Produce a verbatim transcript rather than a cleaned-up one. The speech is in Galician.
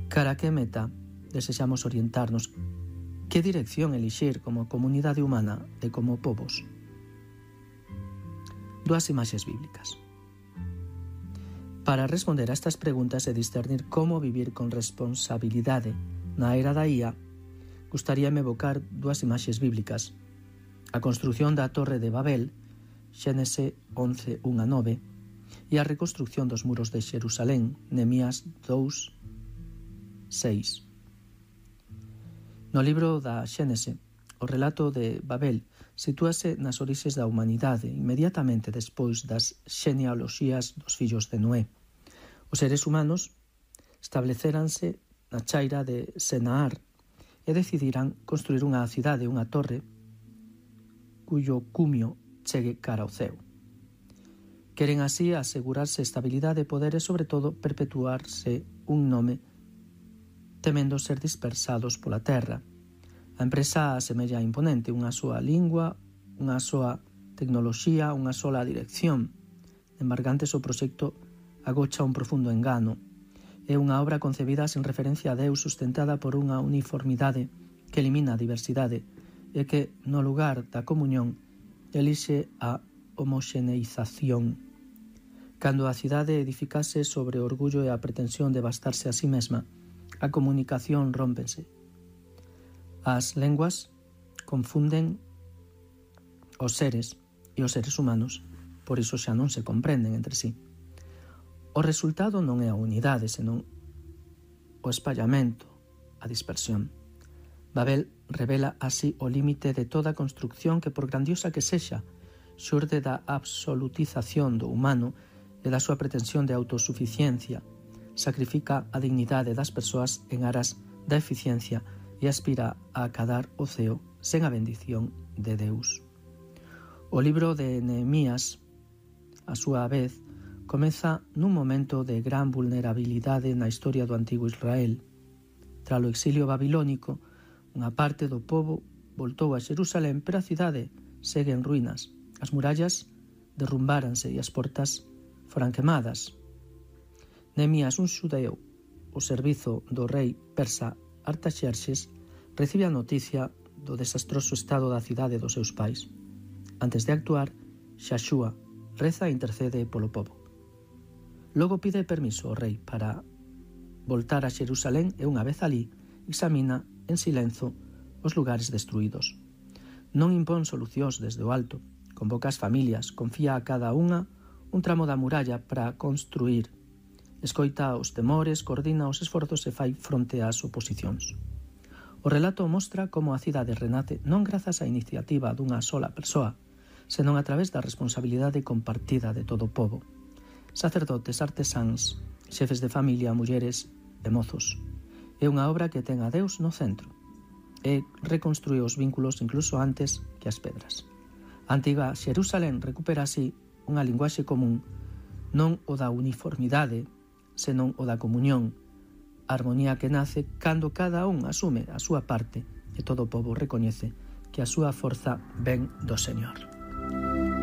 Cara a que meta desexamos orientarnos, que dirección elixir como comunidade humana e como povos? Dúas imaxes bíblicas. Para responder a estas preguntas e discernir como vivir con responsabilidade na era da I A, gustaríame evocar dúas imaxes bíblicas. A construción da Torre de Babel, Xénese once, un a nove, e a reconstrucción dos muros de Xerusalén, Nehemías dous, seis. No libro da Xénese, o relato de Babel sitúase nas orixes da humanidade inmediatamente despois das xenealoxías dos fillos de Noé. Os seres humanos estableceranse na chaira de Senaar e decidirán construir unha cidade, unha torre, cuyo cumio chegue cara ao ceo. Queren así asegurarse estabilidade, poder e, sobre todo, perpetuarse un nome temendo ser dispersados pola terra. A empresa asemella imponente, unha soa lingua, unha soa tecnoloxía, unha sola dirección. Embargantes, o proxecto agocha un profundo engano. É unha obra concebida sen referencia a Deus, sustentada por unha uniformidade que elimina a diversidade e que, no lugar da comunión, elixe a homoxeneización. Cando a cidade edificase sobre o orgullo e a pretensión de bastarse a sí mesma, a comunicación rómpense. As lenguas confunden os seres e os seres humanos, por iso xa non se comprenden entre sí. O resultado non é a unidade, senón o espallamento, a dispersión. Babel revela así o límite de toda construcción que, por grandiosa que sexa, xurde da absolutización do humano e da súa pretensión de autosuficiencia, sacrifica a dignidade das persoas en aras da eficiencia e aspira a acadar o ceo sen a bendición de Deus. O libro de Nehemías, a súa vez, comeza nun momento de gran vulnerabilidade na historia do antigo Israel. Tralo exilio babilónico, unha parte do pobo voltou a Xerusalén, pero a cidade segue en ruínas. As murallas derrumbáranse e as portas foran quemadas. Nehemías, un xudeu, o servizo do rei persa Artaxerxes, recibe a noticia do desastroso estado da cidade dos seus pais. Antes de actuar, Xaxúa reza e intercede polo pobo. Logo pide permiso ao rei para voltar a Xerusalén e, unha vez alí, examina en silenzo os lugares destruídos. Non impón solucións desde o alto, convoca as familias, confía a cada unha un tramo da muralla para construir, escoita os temores, coordina os esforzos e fai fronte ás oposicións. O relato mostra como a cidade renace non grazas á iniciativa dunha sola persoa, senón a través da responsabilidade compartida de todo o pobo. Sacerdotes, artesáns, xefes de familia, mulleres e mozos. É unha obra que ten a Deus no centro e reconstrúe os vínculos incluso antes que as pedras. A antiga Xerusalén recupera así unha linguaxe común, non o da uniformidade, senón o da comunión, a armonía que nace cando cada un asume a súa parte e todo o pobo recoñece que a súa forza ven do Señor.